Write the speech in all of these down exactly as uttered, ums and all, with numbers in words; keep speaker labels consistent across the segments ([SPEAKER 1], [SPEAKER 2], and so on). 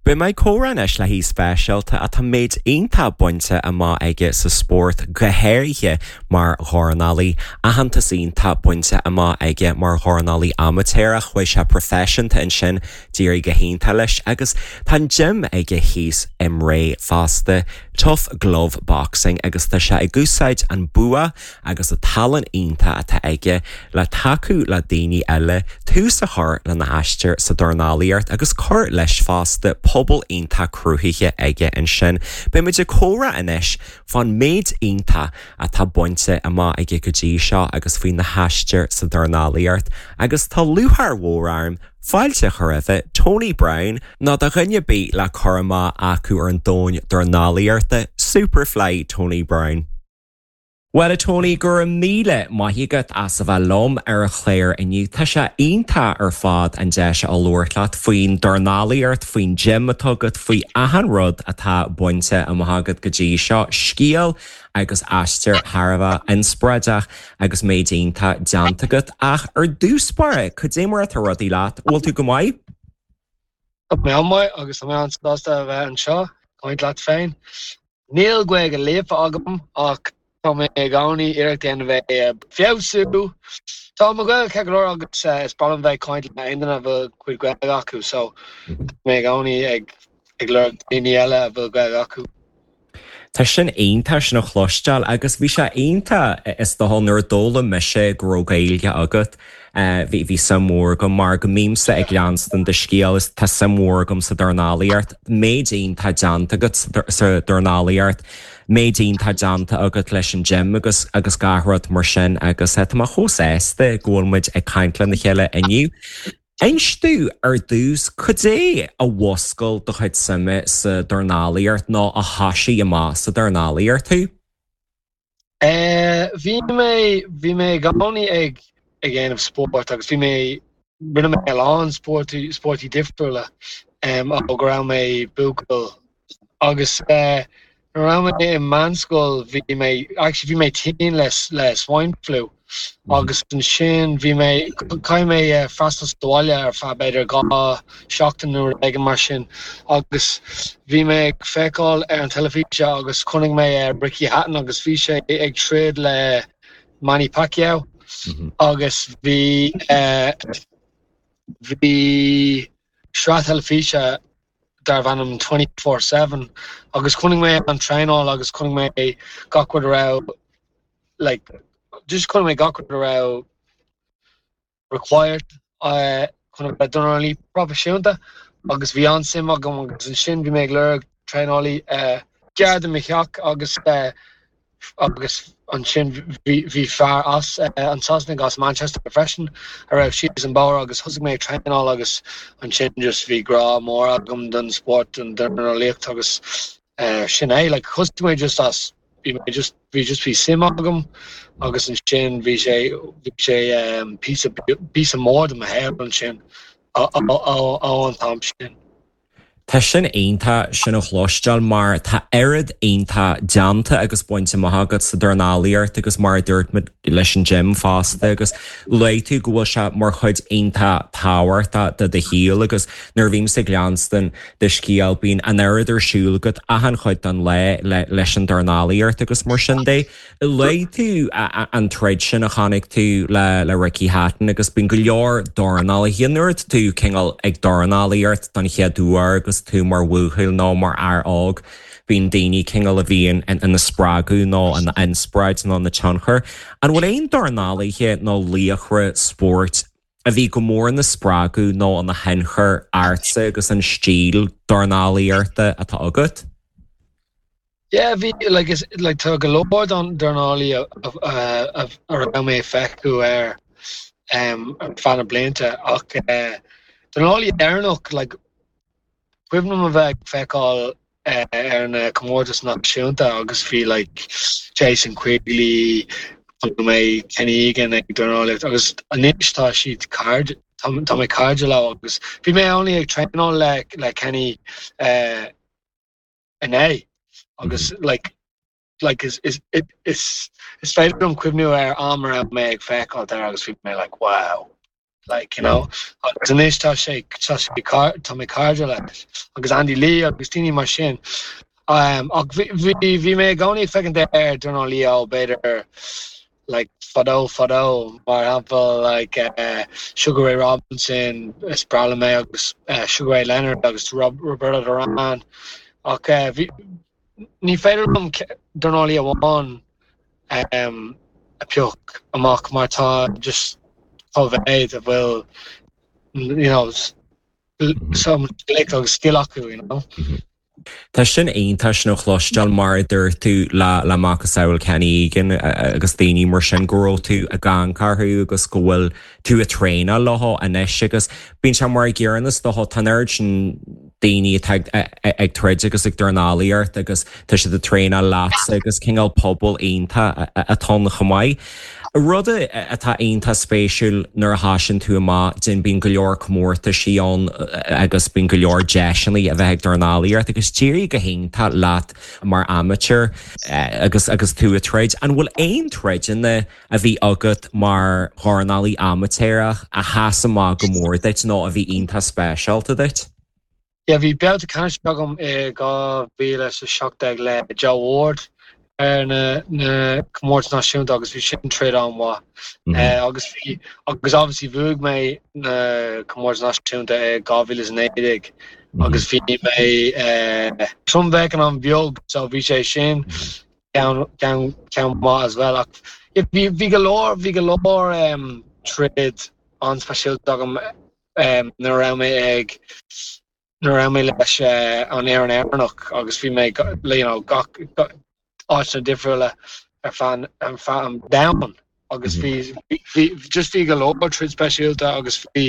[SPEAKER 1] Beidh mé ag comhrá anois le haoi speisialta atá méid iontach bainte amach aige sa spórt go háirithe mar dhornálaí, aitheantas iontach bainte amach aige mar dhornálaí amaitéarach, chuaigh sé proifisiúnta ansin d'éirigh go hiontach leis agus tá an gym aige thíos i mBré fosta, Tough Glove Boxing agus tá sé ag úsáid an bua agus an tallann iontach atá aige le tacú le daoine eile tús a chur lena aistear sa dornálaíocht agus cur leis fosta pobal iontach cruthaithe aige ansin. Beimid ag comhrá anois fán méid iontach atá bainte amach aige go dtí seo agus faoina aistear sa dornálaíocht agus tá lúcháir mhór orm fáilte a chur roimh Tony Browne nó do dhuine ar bith le cur amach acu ar an domhan dornálaíochta Superfly Tony Browne. Well a Tony go raibh míle maith agat as a bheith liom ar an chlár inniu Tá sé iontach ar fad an deis a labhairt leat faoin dornálaíocht faoin gym atá agat faoi achan rud atá bainte amach agat go dtí seo scéal agus aistear thar a bheith inspioráideach agus méid iontach déanta agat ach ar dtús báire cad é mar atá rudaí leat bhfuil tú go maith?
[SPEAKER 2] Tá mé an-mhaith agus tá mé an-sásta a bheith anseo caint leat féin. Níl Gaeilge líofa agam ach tá mé i gcónaí iarracht déanamh bheith feabhsú. Tá mo Ghaeilge ceart go leor agus is breá liom bheith caint le aon duine a bhfuil cuid Gaeilge acu, so tá mé i gcónaí ag ag lorg daoine eile a bhfuil Gaeilge acu.
[SPEAKER 1] Tá sin iontach sin a chloisteáil agus bhí sé iontach is dócha nuair a d'fhoghlaim mise go raibh Gaeilge agat. Bhí bhí suim mhór agam mar go mbímse ag leanstan do scéal is tá suim mhór agam sa dornálaíocht, méid iontach déanta agat sa dornálaíocht, méid iontach déanta agat leis an gym agus agus gach rud mar sin agus tá mé chomh sásta go bhfuil muid ag caint lena chéile inniu. Inis domh ar dtús cad é a mhúscail do chuid suime sa dornálaíocht nó a thoisigh amach sa dornálaíocht thú?
[SPEAKER 2] Bhí mé bhí mé i gcónaí ag ag déanamh spórt agus bhí mé rinne mé a lán spórtaí spórtaí difriúla ó go raibh mé buachaill agus nuair a raibh mé i meánscoil bhí mé actually bhí mé tinn le le swine flu agus ansin bhí mé caithfidh mé freastal sa bhaile ar feadh b'fhéidir dhá seachtain nó rud éigin mar sin agus bhí mé ag feiceáil ar an teilifís agus chonaic mé Ricky Hatton agus bhí sé ag troid le Manny Pacquiao agus bhí bhí sraith teilifíse darbh ainm twenty four seven agus chonaic mé an traenáil agus chonaic mé gach rud a raibh like just chonaic mé gach rud a raibh required chun a bheith dornálaí proifisiúnta agus bhí an-suim agam agus ansin bhí mé ag lorg traenálaí gar do mo theach agus agus ansin bhí fear as an Sasanaigh as Manchester freisin a raibh síos an bóthar agus thosaigh mé ag traenáil agus ansin just bhí grá mór agam don spórt an dornálaíocht agus sin é like thosaigh mé just as bhí mé just bhí just bhí suim agam agus ansin bhí sé bhí sé píosa píosa mór de mo shaol ansin ó an t-am sin.
[SPEAKER 1] Tá sin iontach sin a chloisteáil mar tá oiread iontach déanta agus bainte amach agat sa dornálaíocht agus mar a dúirt muid leis an gym fosta agus luaigh tú go bhfuil sé mar chuid iontach tábhachtach de do shaol agus nuair a bhímse ag leanstan do scéal bíonn an oiread ar siúl agat achan chuid den lá le leis an dornálaíocht agus mar sin de. Luaigh tú an troid sin a chonaic tú le le Ricky Hatton agus bíonn go leor dornálaithe nuair atá tú cineál ag dornálaíocht don chéad uair agus tú mar bhuachaill nó mar fhear óg, bíonn daoine cineál a bhíonn ina spreagadh nó ina inspioráid nó ina tionchar. An bhfuil aon dornálaithe nó laochra spóirt a bhí go mór ina spreagadh nó ina thionchar ortsa agus an stíl dornálaíochta atá agat?
[SPEAKER 2] Yeah, bhí like is like tá go leor don dornálaí a a a raibh mé ag feiceáil ar um ar feadh na blianta ach uh, dornálaí Éireannach like cuimhin liom a bheith ag feiceáil ar na comórtais náisiúnta agus bhí like Jason Quigley chonaic mé Kenny Egan ag dornálaíocht agus anois tá siad cairde tá mé cairde leo agus bhí mé only ag traenáil le le Kenny uh, inné agus like like is is is is féidir liom cuimhniú ar am a raibh mé ag feiceáil air agus bhí mé like wow like you know agus anois tá sé tá sé tá mé cairde leis agus Andy Lee agus daoine mar sin um, ach bhí bhí mé i gcónaí ag féachaint ar dornálaí ó b'fhéidir like fadó fadó mar shampla like uh, Sugar Ray Robinson is breá liom é agus uh, Sugar Ray Leonard agus Rob, Roberto Duran ach uh, bhí ní féidir liom dornálaí amháin um, a phioc amach mar tá just chomh mhéad a bhfuil you know some glic agus skill acu you know.
[SPEAKER 1] Tá sin iontach sin a chloisteáil mar a dúirt tú le le macasamhail Kenny Egan agus daoine mar sin go raibh tú ag amharc orthu agus go bhfuil tú ag traenáil leo anois agus bíonn sé mar gcéanna do tá an sin daoine ag troid agus ag dornálaíocht agus tá siad ag traenáil leat agus cineál pobal iontach atá chomh maith. Rud atá iontach spéisiúil nuair a thagann tú amach den bíonn go leor comórtaisí ann agus bíonn go leor deiseanna a bheith ag dornálaíocht agus d'éirigh go hiontach leat mar amateur agus agus tú ag troid. An bhfuil aon troideanna a bhí agat mar dhornálaí amaitéarach a sheas amach go mór duit nó a bhí iontach speisialta duit?
[SPEAKER 2] Yeah, bhí babhta ceannais agam i dhá mhíle sa seacht déag le Joe Ward ar na na comórtas náisiúnta agus bhí sin troid an-mhaith. Mm -hmm. uh, agus bhí agus obviously bhuaigh mé na comórtas náisiúnta i dhá mhíle is naoi déag agus bhí mé uh, trommheáchan an-bheag so bhí sé sin ceann ceann maith as well ach bhí bhí go leor bhí go leor um, troid an-speisialta agam um, nuair a raibh mé ag nuair a raibh mé leis uh, an fhoireann Éireannach agus bhí mé you know, gach áiteanna difriúla ar feadh an feadh an domhain agus bhí bhí just bhí go leor troid speisialta agus bhí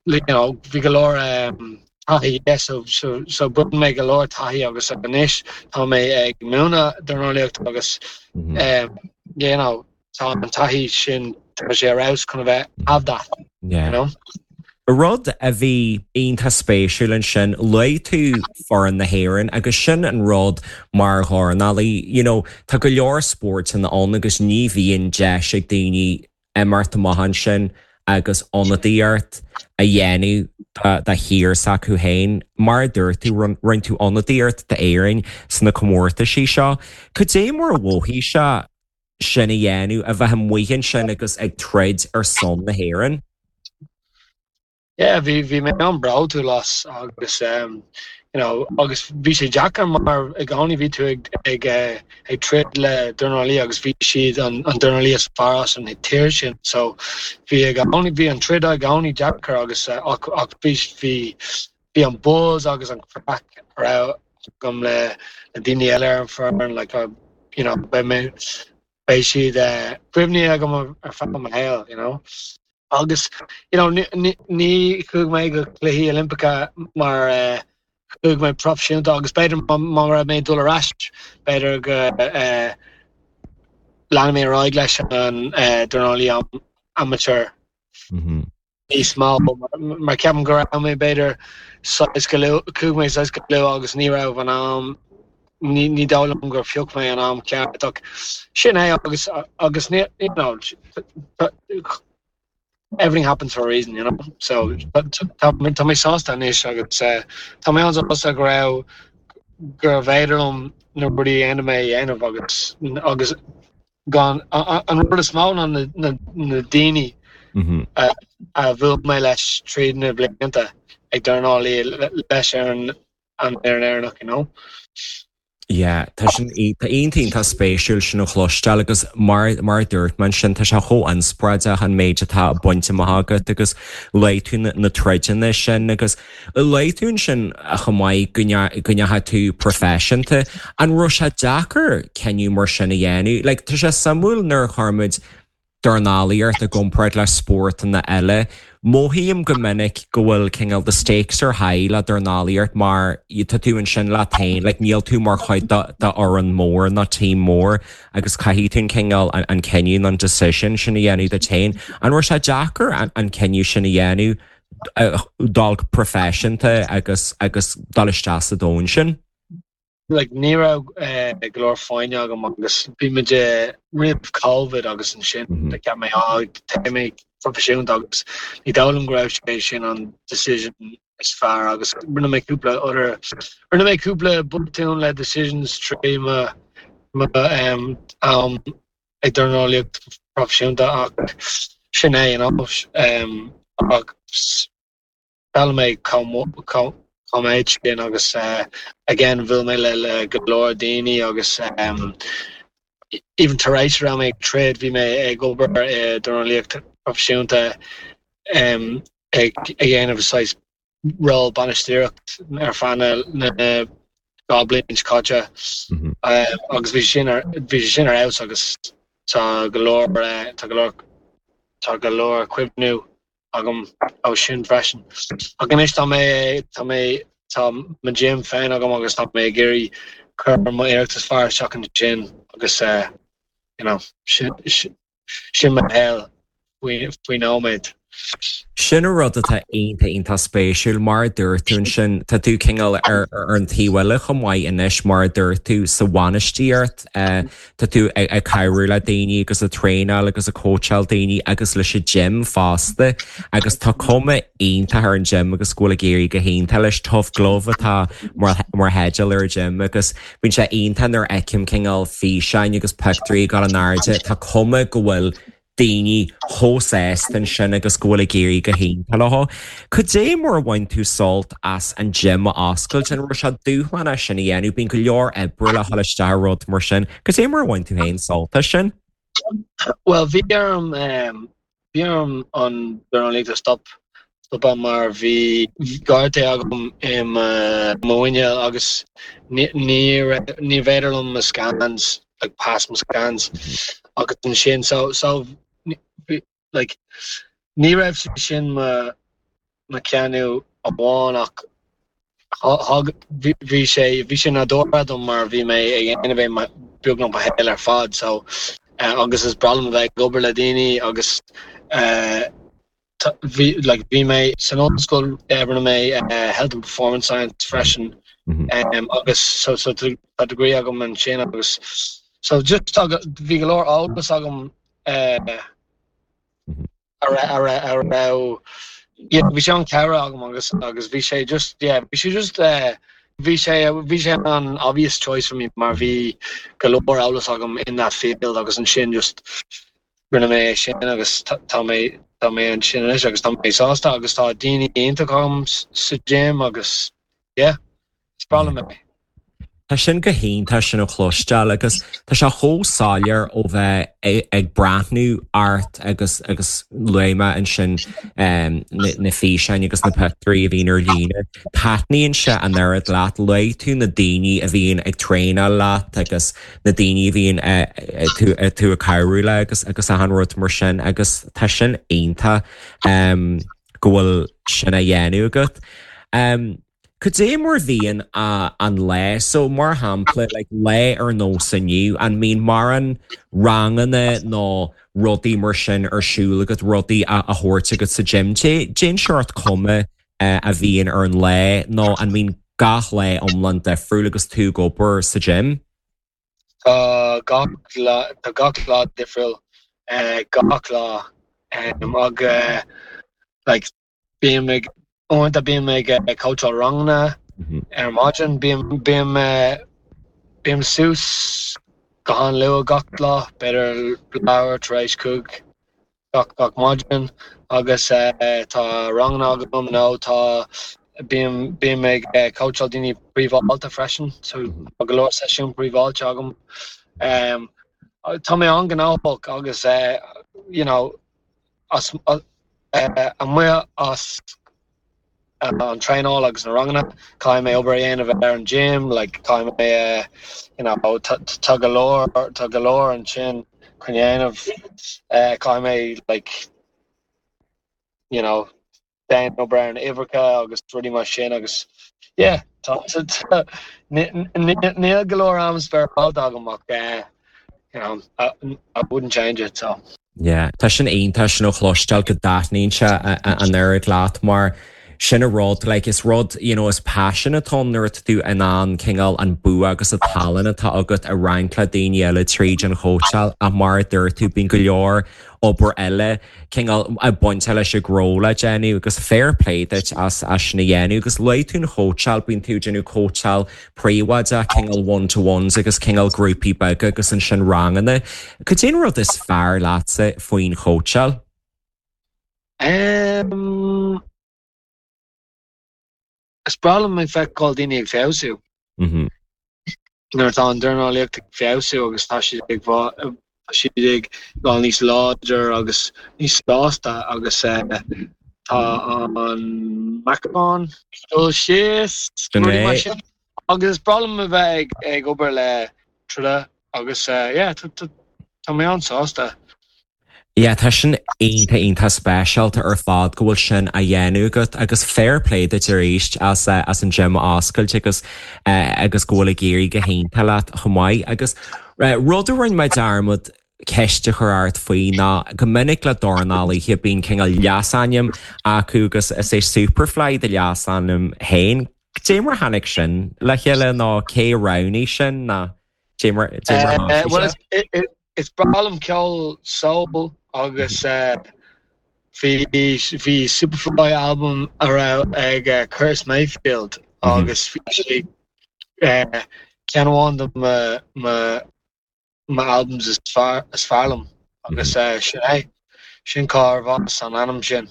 [SPEAKER 2] you know, bhí go leor um, taithí yes, so, so, so bhain mé go leor taithí agus anois tá mé ag múineadh dornálaíocht agus mm -hmm. um, you know, tá an taithí sin tá sé arás chun bheith have that
[SPEAKER 1] yeah.
[SPEAKER 2] you know?
[SPEAKER 1] Rud a bhí iontach spéisiúil ansin luaigh tú foireann na hÉireann agus sin an rud mar dhornálaí, you know, tá go leor spórtanna ann agus ní bhíonn deis ag daoine imirt amach ansin agus ionadaíocht a dhéanamh do thír s'acu féin mar dúirt tú rinne tú ionadaíocht d'Éirinn sna comórtaisí seo. Cad é mar a mhothaigh sé sin a dhéanamh a bheith amuigh ansin agus ag troid ar son na hÉireann?
[SPEAKER 2] Yeah, bhí bhí mé an-bhródúil as agus um, you know, agus bhí sé deacair mar i gcónaí bhí tú ag ag uh, ag troid le dornálaí agus bhí siad an, an dornálaí is fearr as an tír sin so bhí i gcónaí bhí an troid i gcónaí deacair agus uh, ach, ach bhí bhí bhí an buzz agus an craic a raibh agam le le daoine eile ar an foireann like uh, you know beidh mé beidh siad uh, cuimhní agam ar feadh mo shaol you know agus you know ní ní chuaigh mé go cluichí Oilimpeacha mar uh, chuaigh mé proifisiúnta agus b'fhéidir má raibh mé dul ar ais b'fhéidir go uh, lean mé ar aghaidh leis an uh, dornálaí amateur
[SPEAKER 1] Mm -hmm.
[SPEAKER 2] níos mó mar ceapaim go raibh mé b'fhéidir saghas go chuaigh mé saghas go luath agus ní raibh an am ní ní dóigh liom gur phioc mé an am ceart ach sin é agus agus ní you know, everything happens for a reason you know so tá tá mé sásta anois agus uh, tá mé an-sásta go raibh gur féidir liom na rudaí a dhéanamh mé a dhéanamh agus agus gan an rud is mó ná na, na, na daoine
[SPEAKER 1] Mm -hmm.
[SPEAKER 2] a bhuail mé leis tríd na blianta ag dornálaí leis ar an an ar an Éireannach you know.
[SPEAKER 1] Yeah, tá sin tá iontach spéisiúil sin a chloisteáil agus mar mar dúirt mé sin tá sé chomh inspioráideach an méid atá bainte amach agat agus luaigh tú na troideanna sin agus luaigh tú sin a chomh maith go ndeachaigh tú proifisiúnta an raibh sé deacair cinneadh mar sin a dhéanamh, like, tá sé suimiúil nuair a chuirimid dornálaíocht i gcomparáid le spórtanna eile. Mothaím go minic go bhfuil cineál the stakes are high le dornálaíocht mar tá tú ansin leat féin, like, níl tú mar chuid d'fhoireann mór ná team mór agus caithfidh tú an cineál an, an cinneadh an decision sin a dhéanamh duit féin. An raibh sé deacair an, an cinneadh sin a dhéanamh uh, dul proifisiúnta agus agus dul isteach sa domhan sin?
[SPEAKER 2] like ní raibh uh, go leor foighne agam agus bhí muid roimh COVID agus ansin mm -hmm. mé tá mé proifisiúnta agus ní dóigh liom go raibh sé sin an decision is fearr agus rinne mé cúpla other rinne mé cúpla botún le decisions trí mo mo um, am ag dornálaíocht proifisiúnta ach sin é you know, um, ach d'fhoghlaim mé chomh maith sin agus uh, again bhuail mé le le go leor daoine agus um, even tar éis raibh mé ag troid bhí mé ag obair i dornálaíocht proifisiúnta um, ag ag dhéanamh saghas ról bainistíocht ar feadh na dhá bliain seo caite
[SPEAKER 1] Mhm.
[SPEAKER 2] um, agus bhí sin ar bhí sin ar fheabhas agus tá go leor uh, tá go leor tá go leor cuimhní agam ó sin freisin. Ach anois tá mé tá mé tá mo gym féin agam agus tá mé ag iarraidh cur mo iarracht is fearr isteach ansin agus uh, you know, sin sin sin mo shaol faoi faoi nóiméad.
[SPEAKER 1] Sin an rud atá iontach iontach spéisiúil mar a dúirt tú ansin tá tú cineál ar ar an taobh eile chomh maith anois mar a dúirt tú sa bhainistíocht eh, tá tú ag ag cabhrú le daoine agus ag traenáil agus ag cóitseáil daoine agus leis an gym fosta agus tá cuma iontach ar an gym agus go bhfuil ag éirí go hiontach leis Tough Glove atá mar mar theideal ar an gym agus bíonn sé iontach nuair a fheicim cineál físeáin agus pictiúirí gan an airde tá cuma go bhfuil daoine chomh sásta ansin agus go bhfuil ag éirí go hiontach leo. Cad é mar a bhain tú sult as an gym a oscailt an raibh sé dúshlánach sin a dhéanamh bíonn go leor oibre le dhul isteach i rud mar sin, Cad é mar a bhain tú féin sult as sin?
[SPEAKER 2] Well bhí orm um, bhí orm an dornálaíocht a stop stopadh mar bhí gortú agam i mo mhuineál agus ní ní raibh- ní féidir liom mo scans like pass mo scans agus ansin so so ní- bhí- like ní raibh sé sin mo mo chinneadh amháin ach thug bhí bhí sé bhí sé nádúrtha dom mar bhí mé ag déanamh é beagnach mo shaol ar fad so uh, agus is breá liom a bheith ag obair le daoine agus uh, tá- bhí like bhí mé san ollscoil uh, rinne mé uh, health and performance science freisin
[SPEAKER 1] Mhm.
[SPEAKER 2] um, agus so so tá tá degree agam ansin agus so just tá go- bhí go leor eolas agam uh,
[SPEAKER 1] Mhm.
[SPEAKER 2] a ra- a ra- a raibh yeah, bhí sé an-chabhrach agam agus agus bhí sé just yeah, bhí sé just uh, bhí sé bhí sé an obvious choice for me mar bhí go leor eolas agam in that field agus ansin just rinne mé é sin agus tá tá mé tá mé ansin anois agus tá mé sásta agus tá daoine iontach agam s- sa gym agus yeah, is breá liom é.
[SPEAKER 1] Tá sin go hiontach sin a chloisteáil agus tá sé chomh soiléir ó bheith ag, ag breathnú ort agus agus luaigh mé ansin um, na, na físeáin agus na pictiúirí a bhíonn ar líne. Taitníonn sé an oiread leat luaigh tú na daoine a bhíonn ag traenáil leat agus na daoine a bhíonn eh, eh, tú eh, tú ag cabhrú le agus agus achan rud mar sin agus tá sin iontach um, go bhfuil sin á dhéanamh agat. Um, Cad é mar bhíonn a an lá so mar shampla like, lá ar nós inniu an mbíonn mar an ranganna nó rudaí mar sin ar siúl agat rudaí a a thabhairt agat sa gym Cén seort cuma uh, a bhíonn ar an lá nó an mbíonn gach lá iomlán difriúil agus tú ag obair sa gym?
[SPEAKER 2] Tá gach lá tá gach lá difriúil uh, gach lá um, ag uh, like bím ag uaireanta bím ag uh, coacháil ranganna
[SPEAKER 1] Mhm.
[SPEAKER 2] ar maidin bím bím uh, bím suas go han-luath gach lá b'fhéidir leathuair tar éis cúig gach gach maidin agus uh, tá ranganna agam nó tá bím bím ag uh, coacháil daoine príobháideach freisin so tá go leor seisiún príobháideach agam um, tá mé an-ghnóthach agus uh, you know as uh, amuigh as uh, an traenáil agus na ranganna caithfidh mé obair a dhéanamh ar an gym like caithfidh mé uh, you know tá tá go leor tá go leor ansin chun dhéanamh uh, caithfidh mé like you know déan obair ar an uimhreacha agus rudaí mar sin agus yeah tá tá- ní- ní- níl go leor am spáráilte agam ach uh, you know I, I wouldn't change it so
[SPEAKER 1] Yeah, Tá sin iontach sin a chloisteáil go dtaitníonn sé an oiread leat mar Sin an rud like is rud you know, is passion atá nuair atá tú in ann cineál an bua agus an tallann atá agat a roinnt le daoine eile tríd an chóitseáil ach mar a dúirt tú bíonn go leor obair eile cineál ag baint leis an ngnó le déanamh agus fair play duit as as sin a dhéanamh agus luaigh tú an chóitseáil bíonn tú ag déanamh cóitseáil príobháideach cineál one to ones agus cineál grúpaí beaga agus ansin ranganna. Cad é an rud is fearr leatsa faoin chóitseáil?
[SPEAKER 2] Um, is breá liom ag feiceáil daoine ag feabhsú.
[SPEAKER 1] Mhm.
[SPEAKER 2] Nuair atá an dornálaíocht ag feabhsú agus tá siad ag siad ag dul níos láidir agus níos sásta agus eh, tá an meáchan dul síos rudaí mar sin. Agus is breá liom a bheith ag ag obair le troda agus eh, yeah, tá tá tá mé an-sásta.
[SPEAKER 1] Yeah, tá sin iontach iontach speisialta ar fad go bhfuil sin á dhéanamh agat agus fair play duit arís as uh, as an gym a oscailt agus uh, agus go bhfuil ag éirí go hiontach leat chomh maith agus uh, rud a rinne mé dearmad ceist a chur ort faoi ná go minic le dornálaithe bíonn cineál leasainm acu agus is é Superfly do leasainm féin. Cé mar tháinig sin le chéile ná cé roghnaigh sin ná cé mar cé mar
[SPEAKER 2] Uh,
[SPEAKER 1] tháinig
[SPEAKER 2] well
[SPEAKER 1] sé?
[SPEAKER 2] it's it, it, it's breá liom ceol soul agus uh, bhí bhí Superfly album a raibh ag uh, Curtis Mayfield
[SPEAKER 1] Mhm.
[SPEAKER 2] agus bhí sé uh, ceann amháin de mo mo mo albums is fearr is fearr liom agus uh, sin é sin cár bhas an ainm sin.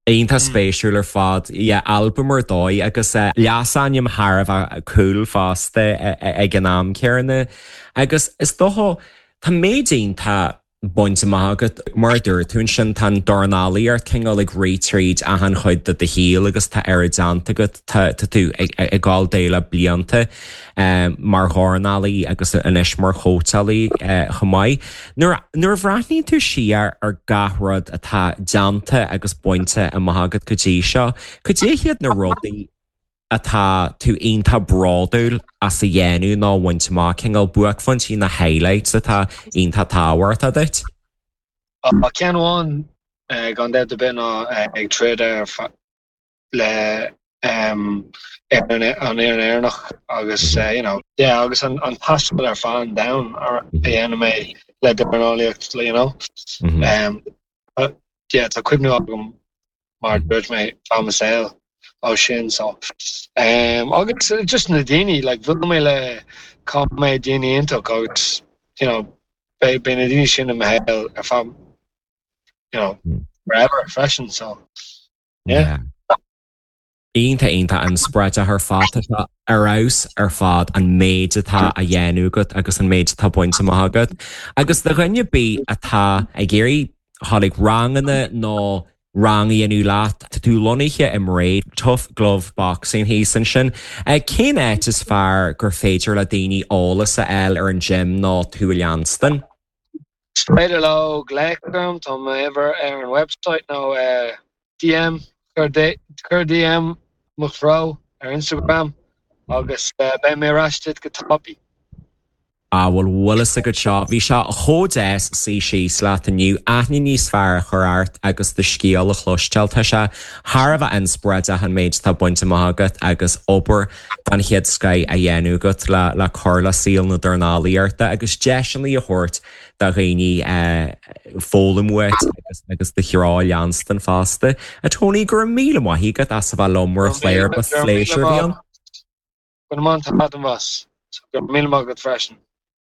[SPEAKER 1] Iontach
[SPEAKER 2] Mm.
[SPEAKER 1] spéisiúil ar fad yeah, album ar dóigh agus uh, leasainm thar a bheith cool fosta ag an am céanna agus is dócha tá méid iontach bainte amach agat mar dúirt tú sin tá dornálaíocht cineál ag rith tríd achan chuid de do shaol agus tá ar déanta agat tá tá tú ag ag gabháil de le blianta um, mar dhornálaí agus anois mar chóitseálaí uh, chomh maith. Nuair nuair a bhreathnaíonn tú siar ar gach rud atá déanta agus bainte amach agat go dtí seo, cad é hiad na rudaí atá tú iontach bródúil as a dhéanamh nó bhaint amach cineál buaicphointí na highlights atá iontach tábhachtach duit?
[SPEAKER 2] Uh, ceann amháin uh, gan dabht ar bith ná uh, ag troid ar fa- le um, an an fhoireann Éireannach agus uh, you know, yeah, agus an, an taisteal ar fad an domhan ar a dhéanamh mé le dornálaíocht you know.
[SPEAKER 1] Mhm.
[SPEAKER 2] Um, but, yeah, tá cuimhne agam mar dúirt mé fá mo saol ó sin so um, agus uh, just na daoine like bhuail mé le cá mé daoine iontach agus you know, beidh beidh na daoine sin i mo shaol ar feadh you know,
[SPEAKER 1] Mm.
[SPEAKER 2] forever freisin so yeah.
[SPEAKER 1] Iontach iontach inspioráideach ar fad tá ar fheabhas ar fad an méid atá á dhéanamh agat agus an méid atá bainte amach agat. Agus do dhuine ar bith atá ag iarraidh tháinig ranganna nó rang a dhéanamh leat tá tú lonnaithe i mBré Tough Glove Boxing thíos ansin. Cén áit is fearr gur féidir le daoine eolas a fháil ar an gym nó tú a leanstan?
[SPEAKER 2] Is féidir leo glaoch orm tá m'uimhir ar an website nó uh, DM chuir D- chuir DM mo threo ar Instagram agus uh, beidh mé ar ais duit go tapaidh.
[SPEAKER 1] Ah bhfuil bhfuil go seo bhí sé chomh deas suí síos leat inniu aithne níos fearr a chur ort agus do scéal a chloisteáil tá sé thar a bheith inspioráideach an méid atá bainte amach agat agus obair den chéad scoth á dhéanamh agat le le cur le saol na dornálaíochta agus deiseanna a thabhairt do dhaoine foghlaim uait agus agus do threo a leanstan fosta. A Tony go raibh míle maith agat as a bheith liom mar chléir ba phléisiúr bhí ann.
[SPEAKER 2] Go man tá an bhas, so go míle maith agat freisin.